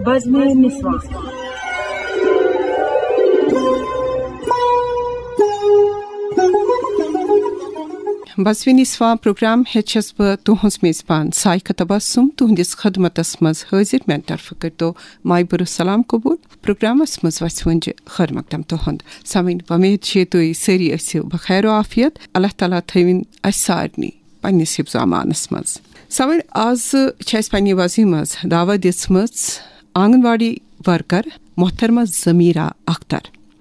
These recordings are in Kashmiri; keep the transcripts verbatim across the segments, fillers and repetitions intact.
بزمِ نسواں۔ بزمِ نسواں پروگرام ہیٚتھ چھَس بہٕ تُہٕنٛز میزبان سائقہ تبسم، تُہٕنٛدِس خدمتس منٛز حٲضِر۔ میانہِ طرفہٕ کٔرۍتو مایہِ بُرٕ سلام قبوٗل۔ پروگرامس منٛز وژھِ وۄنۍ خٲر مقدم تُہُنٛد۔ سامعیٖن، وۄمید چھِ تُہۍ سٲری ٲسِو بخیر و عافیت۔ اللہ تعالیٰ تھٲوِن اَسہِ سارنٕے پننِس حفظ و امانس منٛز۔ سامعیٖن، آز چھِ اَسہِ پننہِ وزِ منٛز دعوت دِژمٕژ آنگن واڑی ورکر محترمہ ضمیرہ اختر۔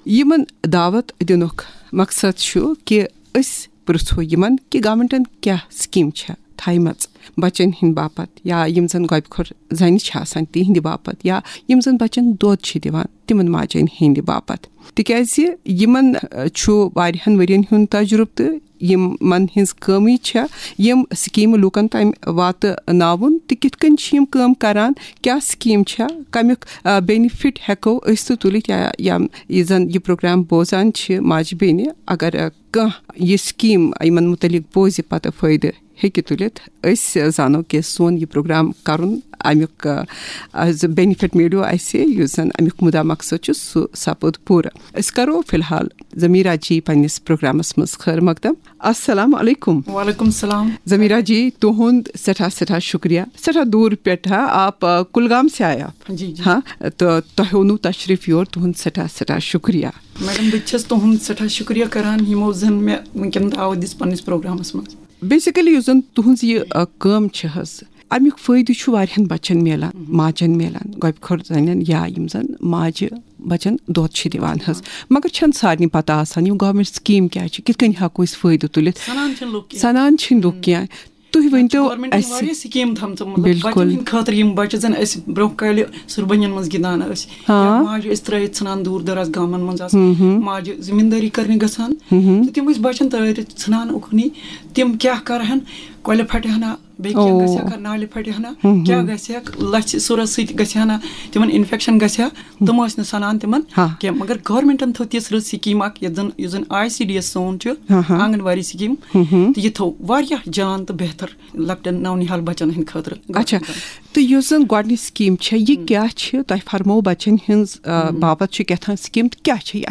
یِمن دعوت دِنُک مقصد چھُ کہِ أسۍ پرژھو یِمن کہِ گورنمنٹن کیاہ سکیٖم چھےٚ تھایمژ بچن ہٕنٛدِ باپتھ، یا یِم زن گۄبہِ خور زنہِ چھِ آسان تِہنٛدِ باپتھ، یا یِم زن بچن دۄد چھِ دِوان تِمن ماجن ہٕنٛدِ باپتھ۔ تِکیازِ یِمن، ٲ، چھُ واریاہن ؤرین ہُنٛد تجرُبہٕ تہٕ یِمن ہٕنٛز کٲمٕے چھےٚ یِم سکیٖمہٕ لوٗکن تام واتناوُن تہٕ کِتھ کٔنۍ چھِ یِم کٲم کران، کیاہ سکیٖم چھےٚ، کمیُک، آ، بینیفٹ ہٮ۪کو أسۍ تہِ تُلِتھ، یا، یا یہِ زن یہِ پروگرام بوزان چھِ ماجہِ بیٚنہِ، اگر، آ، کانٛہہ یہِ سکیٖم یِمن متعلق بوزِ، پتہٕ فٲیدٕ ہیٚکہِ تُلِتھ، أسۍ زانو کہِ سون یہِ پروگرام کرُن، امیُک، آ، آ، زِ بینیفٹ میلیو اسہِ، یُس زن امیُک مُدا مقصد چھُ، سُہ سپُد پوٗرٕ۔ أسۍ کرو فی الحال ضمیرہ جی پننِس پروگرامس منٛز خٲر مقدم۔ السلام علیکم۔ وعلیکم السلام۔ ضمیرہ جی، تُہُنٛد سٮ۪ٹھاہ سٮ۪ٹھاہ شُکریہ، سٮ۪ٹھاہ دوٗر پٮ۪ٹھ، ہا، آپ، آ، کُلگام سے آئے آپ؟ جی، جی۔ ہاں، تہٕ تۄہہِ اوٚنوُ تشریف یور، تُہُنٛد سٮ۪ٹھاہ سٮ۪ٹھاہ شُکریہ۔ میڈم، بہٕ تہِ چھَس تُہُنٛد سٮ۪ٹھاہ شُکریہ کران، یِمو زن مےٚ وٕنکیٚن دعوت دِژ پننِس پروگرامس منٛز۔ بیسیکلی یُس زن تُہٕنٛز یہِ، آ، کٲم چھِ حظ، امیُک فٲیدٕ چھُ واریاہن بچن میلان، ماجن میلان، گۄبہِ خور زنٮ۪ن یا یِم زن ماجہِ بچن دۄد چھِ دِوان حظ۔ مگر چھَنہٕ سارنٕے پتہ آسان یِم گورنمنٹ سکیٖم کیٛاہ چھِ، کِتھ کٔنۍ ہٮ۪کو أسۍ فٲیدٕ تُلِتھ۔ سنان چھِنہٕ لُکھ کینٛہہ۔ سنان چھِنہٕ لُکھ کینٛہہ۔ تُہۍ ؤنۍ تو گورنمنٹن اَسہِ۔ واریاہ سکیٖم تھٲمژٕ، مطلب، بِلکُل۔ بچن ہٕنٛدِ خٲطرٕ، یِم بچہِ زن أسۍ برونٛہہ کالہِ سُربنٮ۪ن منٛز گِنٛدان ٲسۍ، ہاں۔ یا ماجہِ ٲسۍ ترٲوِتھ ژھٕنان دوٗر دراز گامن منٛز آسہٕ، ہُم ہُم۔ ماجہِ زٔمیٖندٲری کرنہِ گژھان، ہُم ہُم۔ تہٕ تِم ٲسۍ بچن ترٲوِتھ ژھٕنان اُکنٕے۔ تِم کیٛاہ کرہن؟ کۄلہِ پھٹہِ ہنا، بیٚیہِ کینٛہہ او۔ گژھِ ہا، نالہِ پھٹہِ ہنا، ہُم ہُم۔ کیٛاہ گژھِ ہا؟ لژھِ سُرس سۭتۍ گژھِ ہنا، تِمن انفیکشن گژھِ ہا، تِم ٲسۍ نہٕ سنان تِمن ہاں۔ کینٛہہ۔ مگر گورنمنٹن تھٲو تِژھ رٕژ سکیٖم اکھ، یتھ زن، یُس زن آی سی ڈی ایس سون چھُ، ہاں ہاں۔ آنگن واڑی سکیٖم، ہُم ہُم۔ تہٕ یہِ تھوٚو واریاہ جان تہٕ بہتر لۄکٹٮ۪ن نونہال بچن ہٕنٛدِ خٲطرٕ۔ اچھا، گورنمنٹن۔ تہٕ یُس زن گۄڈٕنِچ سکیٖم چھےٚ، یہِ ہُم۔ کیٛاہ چھِ؟ تۄہہِ فرموو بچن ہٕنٛز، آ، ہُم۔ باپتھ چھِ کیٛاہ تام سکیٖم، تہٕ کیٛاہ چھےٚ یہِ؟